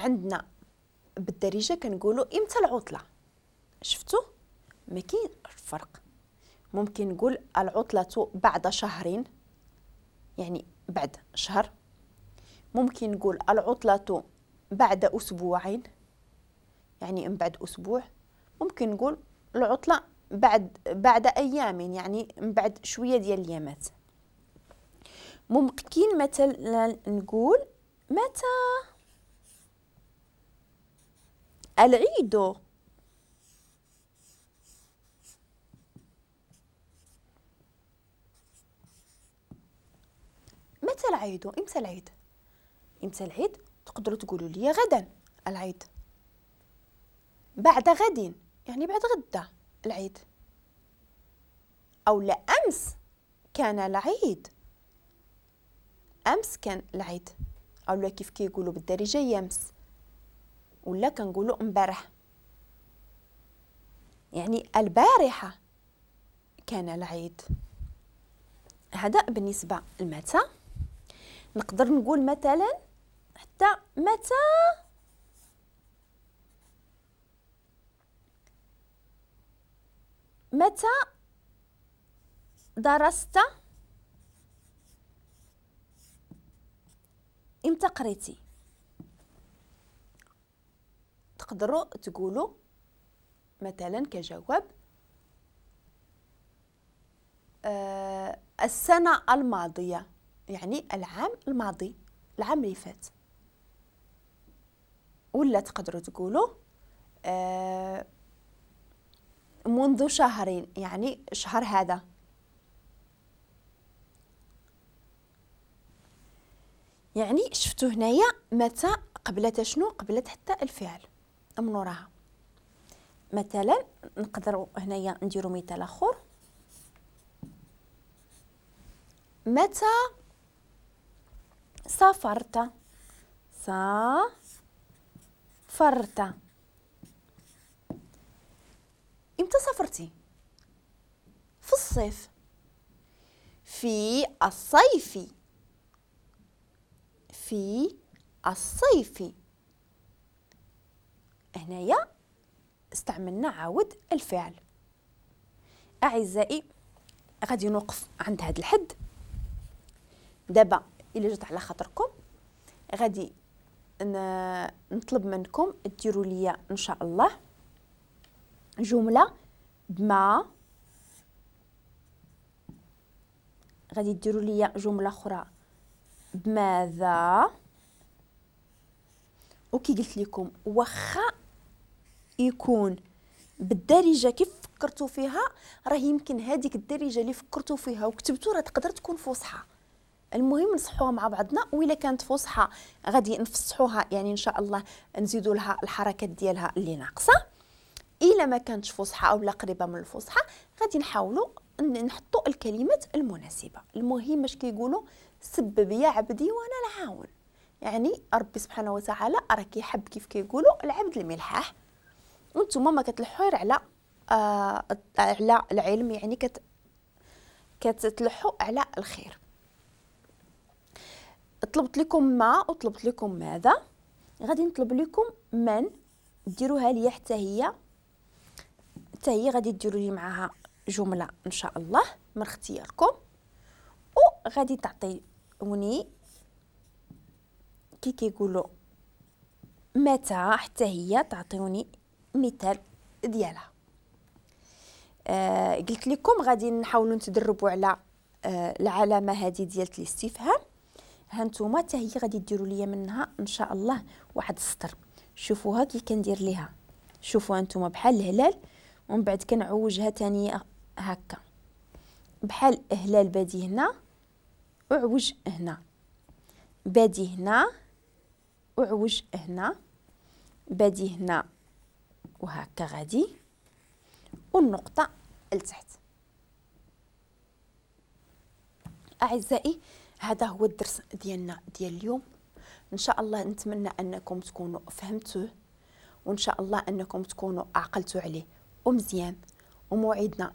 عندنا بالدارجة كنقولوا امتى العطلة. شفتوا ما كاين فرق. ممكن نقول العطلة بعد شهرين، يعني بعد شهر. ممكن نقول العطلة بعد أسبوعين، يعني من بعد أسبوع. ممكن نقول العطلة بعد أيام، يعني من بعد شوية ديال الأيامات. ممكن مثلا نقول متى العيد؟ متى العيد؟ امتى العيد؟ امتى العيد؟ تقدروا تقولوا لي غدا العيد، بعد غد يعني بعد غدا العيد، او لا امس كان العيد، امس كان العيد، او لا كيف كيقولوا بالدارجة يمس، ولا كنقولوا امبارح، يعني البارحة كان العيد. هذا بالنسبة لمتى. نقدر نقول مثلا حتى متى متى درست؟ امتى قريتي؟ تقدروا تقولوا مثلا كجواب السنة الماضية، يعني العام الماضي، العام اللي فات. ولا تقدروا تقولوا منذ شهرين، يعني شهر هذا. يعني شفتوا هنايا متى قبلت شنو؟ قبلت حتى الفعل من وراها. مثلا نقدروا هنايا نديروا مثال اخر. متى سافرت؟ سافرت. امتى سافرتي؟ في الصيف، في الصيف، في الصيف. هنايا استعملنا عاود الفعل. اعزائي غادي نوقف عند هذا الحد. دابا الا جات على خاطركم غادي نطلب منكم ديروا لي ان شاء الله جملة بما، غادي ديروا لي جملة اخرى بماذا. وكي قلت لكم واخا يكون بالدارجة كيف فكرتوا فيها، راه يمكن هذيك الدارجة اللي فكرتوا فيها وكتبتوا راه تقدر تكون فصحى. المهم نصحوها مع بعضنا، وإلا كانت فصحى غادي نفصحوها، يعني ان شاء الله نزيدوا لها الحركات ديالها اللي ناقصه. الا ما كانتش فصحى او لا قريبه من الفصحى غادي نحاولوا نحطوا الكلمات المناسبة. المهم اش كيقولوا؟ سبب يا عبدي وانا العاون، يعني ربي سبحانه وتعالى راه كيحب كيف كيقولوا العبد الملحاح، وانتم ما كتلحوا على على العلم، يعني كتلحوا على الخير. طلبت لكم ما وطلبت لكم ماذا، غادي نطلب لكم من، ديروها لي حتى هي، حتى هي غادي ديروا لي معاها جملة ان شاء الله من اختياركم، وغادي تعطيوني كي كيقولوا متى، حتى هي تعطيوني مثال ديالها. قلت لكم غادي نحاولوا نتدربوا على العلامة هذه ديال الاستفهام. ها نتوما حتى هي غادي ديروا لي منها ان شاء الله واحد السطر. شوفوها كي كندير ليها، شوفوها نتوما بحال الهلال، ومن بعد كنعوجها ثاني هكا بحال هلال بادي هنا وعوج هنا، بادي هنا وعوج هنا، بادي هنا وهكا غادي، والنقطة لتحت. أعزائي هذا هو الدرس ديالنا ديال اليوم. إن شاء الله نتمنى أنكم تكونوا فهمتوه، وإن شاء الله أنكم تكونوا عقلتوا عليه ومزيان. وموعدنا